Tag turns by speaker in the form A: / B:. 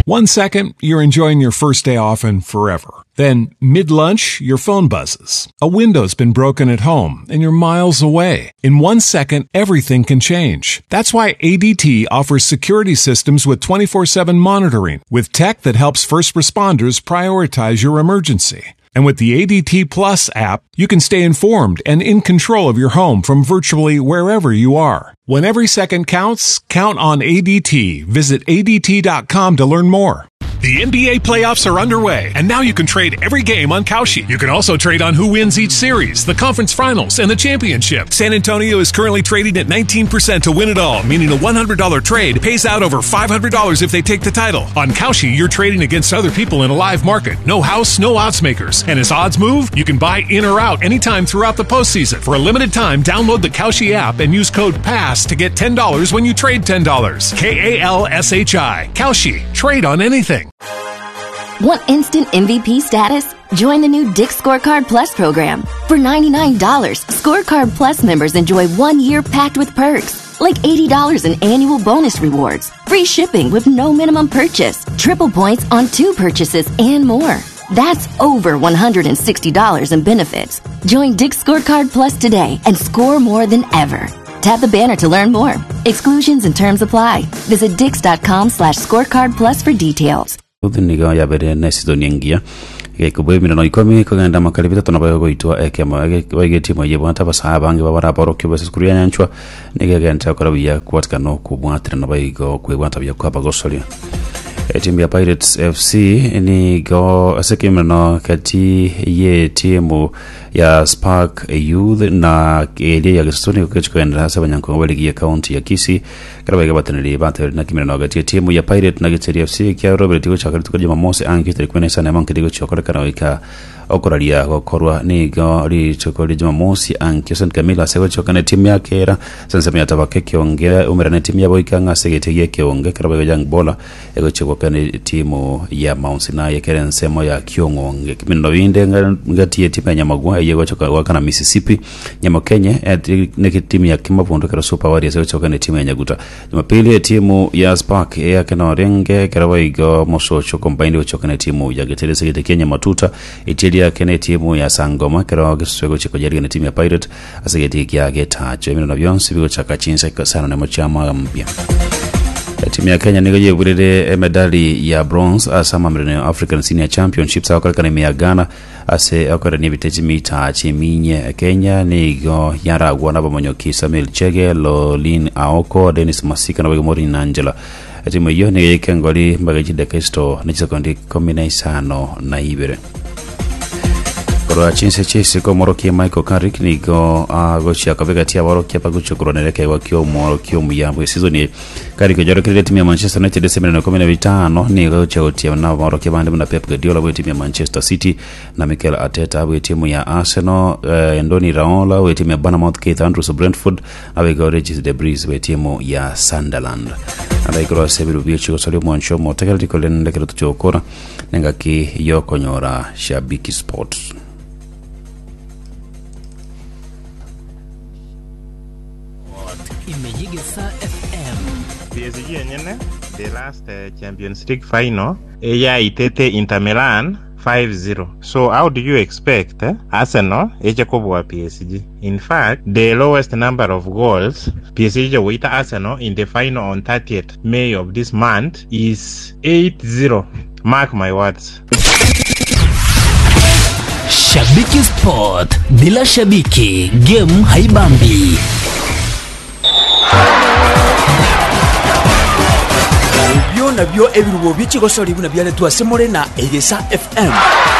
A: One second, you're enjoying your first day off and forever. Then, mid lunch, your phone buzzes. A window's been broken at home and you're miles away. In one second, everything can change. That's why ADT offers security systems with 24 7 monitoring, with tech that helps first responders prioritize your emergency. And with the ADT Plus app, you can stay informed and in control of your home from virtually wherever you are. When every second counts, count on ADT. Visit ADT.com to learn more. The NBA playoffs are underway, and now you can trade every game on Kalshi. You can also trade on who wins each series, the conference finals, and the championship. San Antonio is currently trading at 19% to win it all, meaning a $100 trade pays out over $500 if they take the title. On Kalshi, you're trading against other people in a live market. No house, no odds makers. And as odds move, you can buy in or out anytime throughout the postseason. For a limited time, download the Kalshi app and use code PASS to get $10 when you trade $10. K A L S H I. Kalshi. Trade on anything.
B: Want instant MVP status? Join the new Dick Scorecard Plus program. For $99, Scorecard Plus members enjoy one year packed with perks, like $80 in annual bonus rewards, free shipping with no minimum purchase, triple points on two purchases, and more. That's over $160 in benefits. Join Dick Scorecard Plus today and score more than ever. Tap the banner to learn more. Exclusions and terms apply. Visit dix.com slash scorecard plus for details.
C: Ruth nigo yabeire nesidoni engiya, egaika emirano ikomi kogenda amakari bitato nabo egoitwa ekemo. Boigo etimu eyio ebwate abasae abange babare aborokigwa b'esukuru ya Nyanchwa nigo egenderete gokora buya kobwatikana nokobwaterana boigo kwebwata buya kw'abagosoria. Etimu ya Pirates FC nigo ase ekemerano gati y'etimu ya Spark Youth na eria ya Gesusu nigo kegochia kogenderera ase abanyankong'u ba ligi ya county ya Kisii. Ekero baiga abateneneri batebirie naki emerano gati y'etimu ya Pirate na Giteri FC ekiaroberetie gochaka rituko ria Jumamosi ange chitarehe ikomi na isano emo nkeri gochia gokorekana goika okoraria gokorwa nigo rituko ria Jumamosi ankio St Camillus egochia na etimu ya Kera ase ensemo ya Tabaka ekionge umerane etimu ya Boika ng'a ase egetii gi'ekeonge ekero baiga Young Baller egochia goakana etimu ya Mount Sinai ekere ensemo ya Kiong'onge. Ebimineno binde ngati y'etimu ya Nyamagwa eyio egochia goakana Mississippi Nyamokenye netimu ya Kimabondo ekero Super Warriors egochia goakana etimu ya Nyaguta. Jumapili etimu ya Spark eyakena orenge ekero boigo Mosocho Combined egochia goakana etimu ya Getere ase egete kia Nyamatuta. Etieri yake netimu ya Sangoma ekero Gesusu egochia koyarigia netimu ya Pirate Ase egetii kia getacho eminano bionsi bigochaka chinsa isano nemo chia mambia. Etimu ya Kenya nigo yeburire emedali ya bronze ase amamerano ya African Senior Championships agokorekana ime ya Ghana ase okorenia ebite chimita chiminye. Kenya nigo yaragwa nabamonyoki Samuel Chege, Lolin Aoko, Dennis Masika naboigo Maureen Angela. Etimu eyio nigo yaika engori mbaga chidaka isito ne chisekondi ikomi na isano na ibere. Korwa chinse chi'isiko omworokia Michael Carrick nigo agochia koba egati y'aborokia bagochia korwanera ekeegwa ki'omworokia omuya bw'esizoni eye. Carrick oyorokereire etimu ya Manchester United ase emeremo ikomi na bitano nigo agochia gotiema naborokia bande buna Pep Guardiola bw'etimu ya Manchester City na Mikel Arteta bw'etimu ya Arsenal, eh, Andoni Iraola bw'etimu ya Bournemouth, Keith Andrews Brentford Naboigo Regis Debris bw'etimu ya Sunderland. Nabaigoro ase ebiru bie chigosoria omwancho omotegereri korende ekero tochia gokora nengaki yokonyora Shabiki Sports.
D: Ime y'Egesaa FM.
E: PSG enyene the last Champions League final eyaitete Inter Milan 5-0 so how do you expect Arsenal eche kobua PSG? In fact the lowest number of goals PSG eche goita Arsenal in the final on 30th May of this month is 8-0 mark my words.
D: Shabiki Sport, bila shabiki game haibambi.
F: Ebio nabio ebirubo bie chigosori buna biaretwe ase more na Egesa FM.